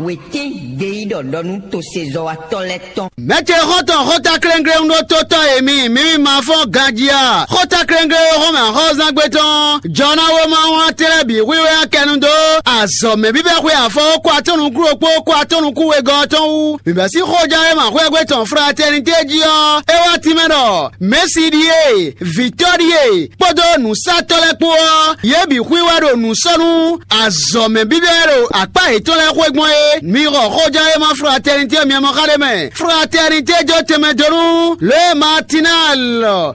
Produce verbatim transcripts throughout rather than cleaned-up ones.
Wětín ɖe yí ɖɔ ɖɔ nú tosezɔ́watɔ́ lɛ́ɛ tɔn. Mɛ̌ ce xɔ́ntɔn xóta kléŋkléŋ ɖó tótɔ́ e mi mǐ ma fɔ́n ganjí a? Xóta kléŋkléŋ e xɔ́mɛ axɔ́zángbé tɔn jɔ ná wó má wlán tɛ́nlɛ́ bǐ hwíhwɛ́ kɛnu dó azɔ̌ mɛ bíbɛ́ xwe afɔ kó atɔ́nukúɖokpó kó atɔ́nukú wegɔ́ ɔ́ tɔn wú. Mǐ bɛ́ sín xójánwéma xwégbé tɔn Fratɛnitée jí ɔ́, é wá tínmɛ ɖɔ Mɛ̌si ɖíe, vǐtɔ́ ɖíe, kpódó nǔsatɔ́ lɛ́ɛ kpó ɔ́, yě bǐ xwíwá ɖo nǔ sɔ́ nú azɔ̌ mɛ bíbɛ́ e ɖo akpá yětɔn lɛ́ɛ xwé gbɔn é. Mi xɔ xójánwéma Fratɛnitée myɔ mɔ xá ɖé mɛ. Fratɛnitée jó tɛnmɛ dó nú lě e Matinal,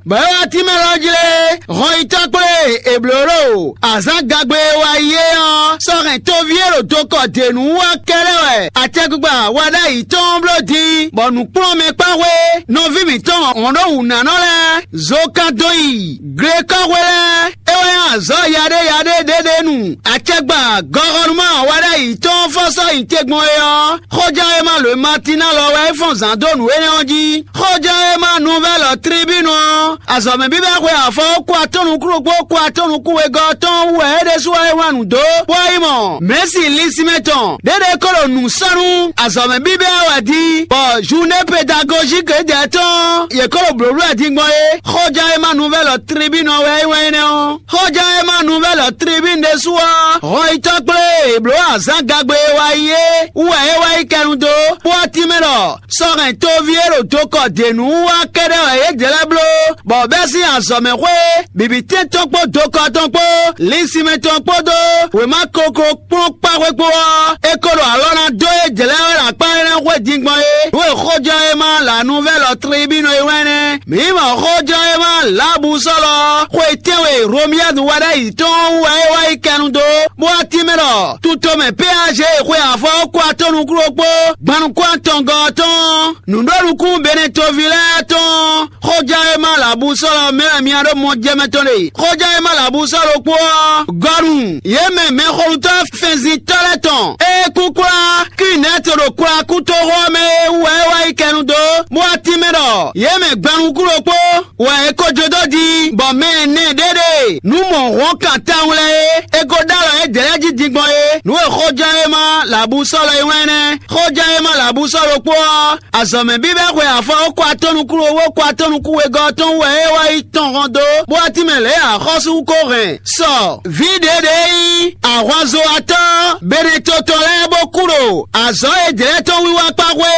bɔ é wá tínmɛ lɔ jí lé, hɔnyitɔ́ kplé è blǒ ɖo azǎn gagbe e wá yi é ɔ́, sɔ́ hɛn toví e ɖo dokɔ dě nú wá kɛ́ɖɛ́ wɛ acɛkpikpa wa ɖ'ayǐ tɔn bló din, bɔ nǔkplɔ́nmɛkpáxwé nɔví mǐtɔn hɔn ɖó wǔnánɔ lɛ́ɛ, zo kan dó yi glekɔ́xwé lɛ́ɛ, é wɛ nyí azɔ̌ yaɖé yaɖé ɖé ɖé nu. Acɛgba gɔxɔnúmá wa ɖ'ayǐ tɔn fɔ́sɔ́ nyi te gbɔn é ɔ́, xóján e ma lǒ e ma tín ná lɔ wɛ é fɔ́n zǎn dó nǔ énɛ́ ɔ́ jí. Xóján e ma nuvɛ́lɔ tlibínu ɔ́, azɔ̌ mɛ bíbɛ́ xwe afɔ kú atɔ́nukúɖokpó kú atɔ́nukú wegɔ́ tɔn wú wɛ é ɖésú wá é wlán nǔ dó, bó wá yi mɔ Mɛ̌si Lisimɛ tɔn. Ɖěɖe ko ɖo nǔ sɔ́ nú azɔ̌ mɛ bíbɛ́ ɔ́ wɛ din, bɔ Journée pédagogique édɛɛ tɔn yě ko ɖo blǒbló wɛ din gbɔn é. Xóján e ma nuvɛ́lɔ tlibínu ɔ́ wɛ é wɛn énɛ́ ɔ́. Xóján e ma nuvɛ́lɔ tlibínu ɖésú ɔ́, hɔnyitɔ́ kplé è blǒ azǎn gagbe e wá yi é wú wɛ é wá yi kɛnu dó, bó wá tínmɛ ɖɔ sɔ́ hɛn toví e ɖo dokɔ dě nú wá kɛ́ɖɛ́ wɛ yě jɛ lɛ́ bló, bɔ bɛ́ sín azɔ̌mɛxwé bǐbítɛ́n tɔn kpó dokɔ tɔn kpó linsinmɛ tɔn kpódó wěma koklo kplɔ́n kpáxwé kpó ɔ́, é ko ɖo alɔ ná dó é jlɛ́ wɛ ɖo akpá énɛ́ xwé din gbɔn é. Nǔ e xójɔ́ e ma lǎnúvɛ́lɔ tlibínu é wɛn nɛ́. Mǐ mɔ xójɔ́ e ma lǎbusɔ́lɔ xwe tɛ́nwe Romiyɛ́nu wɛ ɖ'ayǐ tɔn wú wɛ é wá yi kɛnu dó, bó wá tínmɛ ɖɔ tutomɛ P A G xwe afɔ kó atɔ́nukúɖokpó gbannukún atɔngɔ́ tɔn nǔɖonukún Benetovi lɛ́ɛ tɔn. Xóján e ma lǎbusɔ́lɔ mɛ wɛ mi ɖó mɔ jɛ mɛ tɔn ɖe. Xóján e ma lǎbusɔ́ ɖokpó ɔ́, gɔnu yě mɛ mɛxolutɔ́ fɛnzintɔ́ lɛ́ɛ tɔn e kúkúlá Kinɛ́to ɖo kwlakútoxo ɔ́ mɛ é wú wɛ é wá yi kɛnu dó, bó wá tínmɛ ɖɔ yě mɛ gbannukún ɖokpó wɛ é ko jó dó din, bɔ mɛ ɛnɛ ɖé ɖe nǔ mɔ hɔn kan tawun lɛ́ɛ é, é ko ɖó alɔ yědɛɛ lɛ́ɛ jí din gbɔn é. Nǔ e xóján e ma lǎbusɔ́lɔ é wɛn nɛ́. Xóján e ma lǎbusɔ́ ɖokpó ɔ́, azɔ̌mɛ bíbɛ́ xwe afɔ kó atɔ́nukúɖowó kó atɔ́nukúwegɔ́ tɔn wú wɛ é wá yi tɔn hɔn dó, bó wá tínmɛ lě e axɔ́sú ko hɛn sɔ vǐ ɖě ɖě nyí ahwanzowatɔ́ Beneto tɔn lɛ́ɛ bó kú ɖo azɔ̌ e jlɛ̌ tɔn wiwa kpá xwé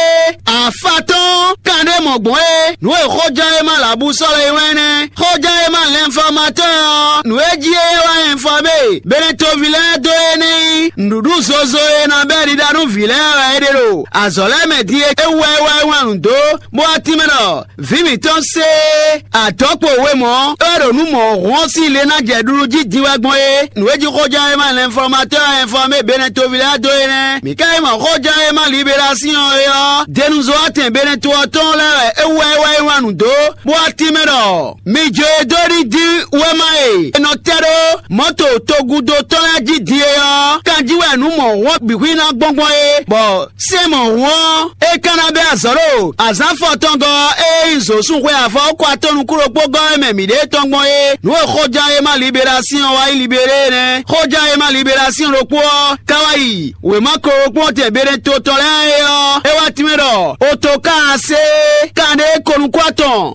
afa tɔn kanɖé mɔ̌ gbɔn é. Nǔ e xóján e ma lǎbusɔ́lɔ é wɛn nɛ́. Xóján e ma lɛnfɔmatɔ́ ɔ́, nǔ e jí é wá ɛnfɔmé Beneto ví lɛ́ɛ dó é nɛ́ nyí nǔɖuɖu zozo e ná bɛ́ ɖiɖa nú vǐ lɛ́ɛ wɛ é ɖe ɖo azɔ̌ lɛ́ɛ mɛ din é wú wɛ é wá yi wlán nǔ dó, bó wá tínmɛ ɖɔ vǐ mǐtɔn sé adɔ̌kpo we mɔ̌, é wɛ ɖo nǔ mɔ̌ hɔn sín le ná jɛ ɖuɖu jí din wɛ gbɔn é. Nǔ e jí xóján e ma lɛnfɔmatɔ́ ɛnfɔmé Beneto ví lɛ́ɛ dó é nɛ́. Mǐ ka yi mɔ xóján e ma Liberasíɔn é ɔ́, denuzɔ́watɛn Beneto ɔ́ tɔn lɛ́ɛ wɛ é wú wɛ é wá yi wlán nǔ dó, bó wá tínmɛ ɖɔ mi jó e dó ɖi dín wɛ́ma e è nɔ tɛ́ ɖó mɔ̌to togúdo tɔn lɛ́ɛ jí din é ɔ́, kanjí wɛ nǔ mɔ̌ hɔn bǐ xwíná gbɔngbɔn é, bɔ sɛ́n mɔ̌ hɔn ɔ́, é ka ná bɛ́ azɔ̌ ɖo azǎn fɔtɔngɔ́ e nyí zǒsúnxwe afɔ kó atɔ́nukúɖokpó gɔ́ e mɛ mǐ ɖe tɔn gbɔn é. Nǔ e xóján e ma Liberasíɔn wá yi Libéré é nɛ́. Xóján e ma Liberasíɔn ɖokpó ɔ́ ka wá yi wěma koklókpɔ́ntɛn Beneto tɔn lɛ́ɛ é ɔ́, é wá tínmɛ ɖɔ otokáasé kanɖé konukúatɔn